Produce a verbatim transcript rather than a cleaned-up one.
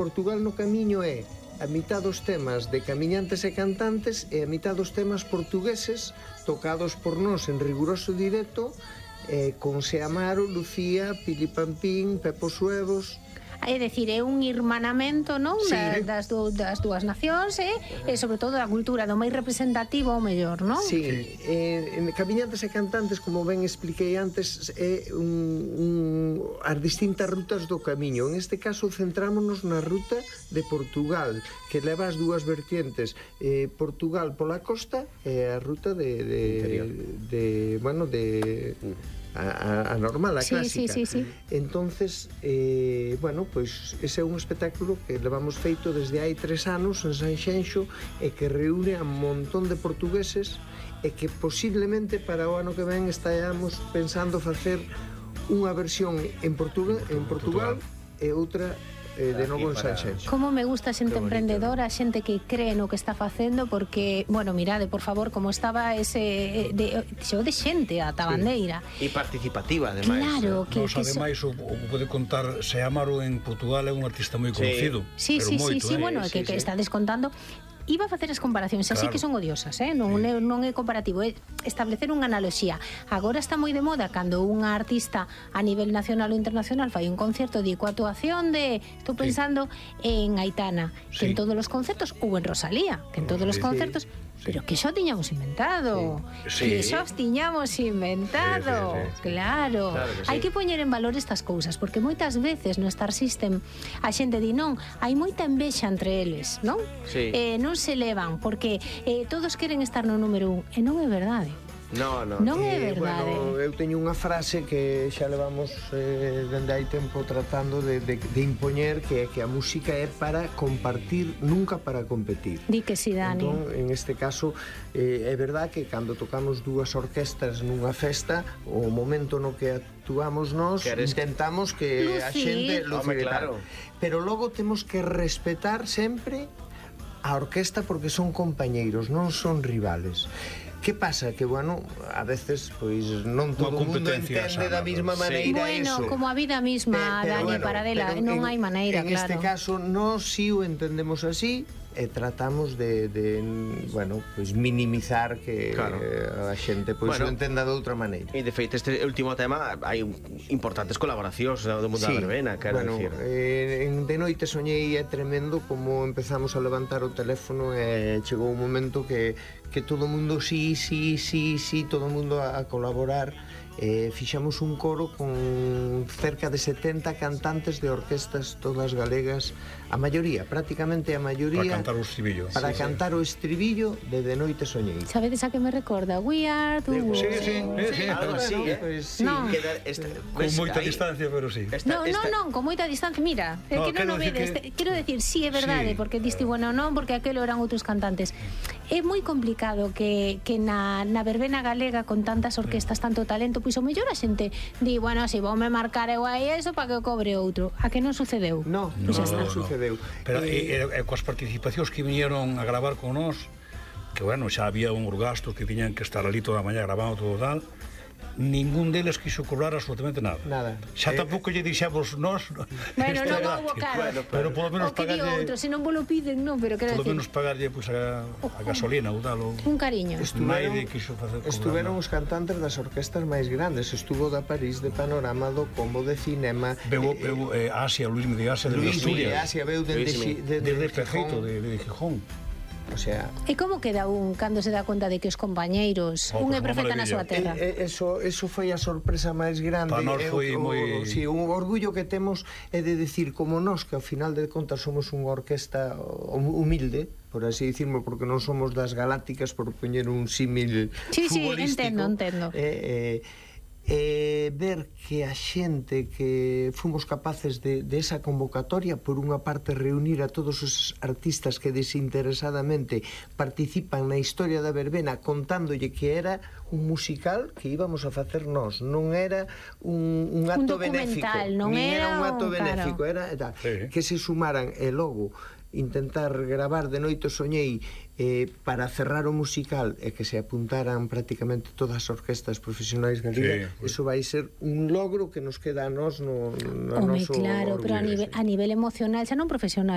Portugal no camiño é a mitad dos temas de camiñantes e cantantes e a mitad dos temas portugueses tocados por nós en riguroso directo, eh, con Seamaro, Lucía, Pili Pampín, Pepo Suevos. É dicir, é un irmanamento, non? Sí. Da, das, du, das dúas nacións e, e sobre todo da cultura, do máis representativo ao mellor, non? Sí, eh, en Camiñantes e Cantantes, como ben expliquei antes, é un, un, as distintas rutas do camiño. En este caso centrámonos na ruta de Portugal, que leva as dúas vertientes, eh, Portugal pola costa e a ruta de, de, de bueno, de a, a normal, a sí, clásica. sí, sí, sí. Entonces, eh, bueno, pois ese é un espectáculo que levamos feito desde hai tres anos en Sanxenxo e que reúne a un montón de portugueses e que posiblemente para o ano que ven estaamos pensando facer unha versión en Portugal, en Portugal e outra eh, de novo en Sanxenxo. Como me gusta a xente emprendedora, a xente que cree no que está facendo, porque, bueno, mirade, por favor, como estaba ese de, xo de xente a tabandeira. E participativa, ademais. Claro, que, Nos, que ademais, so... o, o pode contar, Seamaro en Portugal é un artista moi conocido. Sí, sí, sí, sí, eh? bueno, sí, que, sí. que está descontando. Iba a facer as comparacións, así Claro. que son odiosas, eh? non, sí. non é comparativo, é establecer unha analoxía. Agora está moi de moda cando unha artista a nivel nacional ou internacional fai un concerto de coa actuación de, estou pensando sí. en Aitana, que Sí. en todos os concertos, ou en Rosalía, que en todos os Sí. concertos, Sí. pero que xa tiñamos inventado, Sí. que xa os tiñamos inventado, Sí, sí, sí. claro. Claro que sí. Hai que poñer en valor estas cousas, porque moitas veces no Star System a xente di non, hai moita envexa entre eles, non? Sí. Eh, non se levan, porque eh, todos queren estar no número un, e non é verdade. No, no. Non é Eh, verdade. bueno, eu teño unha frase que xa levamos eh, dende hai tempo tratando de, de, de impoñer, que é que a música é para compartir, nunca para competir. Di que si, Dani. Entón, en este caso, eh, é verdad que cando tocamos dúas orquestas nunha festa, o momento no que actuamos nós, Queres... intentamos que a Lucir. xente lucir Home, e tal. claro. Pero logo temos que respetar sempre a orquesta, porque son compañeiros, non son rivales. Que pasa? Que, bueno, a veces, pois, non todo o mundo entende sana, da mesma sí. maneira Bueno, eso. como a vida misma, Eh, pero Dani, bueno, Paradela, pero non en- hai maneira, en claro. este caso, nós si o entendemos así e tratamos de, de bueno, pois minimizar que Claro. eh, a xente pois Bueno. o entenda de outra maneira. E de feito, este último tema hai importantes colaboracións do mundo Sí, da verbena, quero bueno, dicir. eh, en De Noite Soñei é tremendo como empezamos a levantar o teléfono e chegou un momento que, que todo o mundo sí, sí, sí, sí, todo o mundo a, a colaborar. Eh, fixamos un coro con cerca de setenta cantantes de orquestas todas galegas, a maioría, prácticamente a maioría, Para cantar o estribillo. para Sí, cantar o estribillo de De Noite Soñei. Sabedes a que me recorda? We are the world. Sí, sí, sí, sí. Algo así, Bueno, eh? pues sí. No. Queda esta, Con ves, moita aí, distancia, pero sí. esta, No, esta, no, non, con moita distancia. Mira, é No, que non quero o decir vedes. que- Te- Quero decir, sí, é verdade, Sí. porque diste, bueno, non, porque aquelo eran outros cantantes. É moi complicado que, que na, na verbena galega, con tantas orquestas, tanto talento, pois o mellor a xente di, bueno, si vou me marcar eu aí eso para que o cobre outro. A que non sucedeu? No, Pois xa no, está. non sucedeu. Pero Eh, e, e, e coas participacións que viñeron a gravar con nós, que, bueno, xa había uns gastos que tiñan que estar ali toda a mañá grabando todo tal, ningún deles quiso cobrar absolutamente nada. Nada. Xa Eh, tampouco lle dixemos nós. Bueno, isto non era- houbo caro. Bueno, Pero polo menos O que digo pagarlle, outro, se non vos lo piden, non, pero quero polo decir, menos pagarlle pois, a, a gasolina ou tal. Ou... un cariño. Estuveron, Naide quiso facer cobrar estuveron nada. os cantantes das orquestas máis grandes. Estuvo da París, de Panorama, do Combo, de Cinema. Veu, eh, veu eh, Asia, Luis de Asia, de Luis de Asturias. Asia, veu dende Luismi. Xi- de, De, de, de Pejeito, Gijón. de, de Gijón. O sea, E como queda un cando se dá conta de que os compañeiros, Oh, un é pues unha profeta na súa maravilla. terra? eh, eh, eso, eso foi a sorpresa máis grande. Pa nós É o- foi o- moi- sí, un orgullo que temos é de decir, como nós, que ao final de contas somos unha orquesta humilde, por así dicirmo, porque non somos das galácticas, por poñer un símil Sí, sí, futbolístico. entendo, entendo. Eh, eh, eh, ver que a xente que fomos capaces de, de esa convocatoria, por unha parte reunir a todos os artistas que desinteresadamente participan na historia da verbena, contándolle que era un musical que íbamos a facer nós, non era un, un acto benéfico, documental, non nin era era un acto un- benéfico, claro. era e tal, Sí. que se sumaran e logo intentar gravar De Noite Soñei eh, para cerrar o musical e que se apuntaran prácticamente todas as orquestas profesionais galegas, Sí, eso vai ser un logro que nos queda a nós no, no Home, noso claro, pero a orgullo. nivel, a nivel emocional, xa non profesional,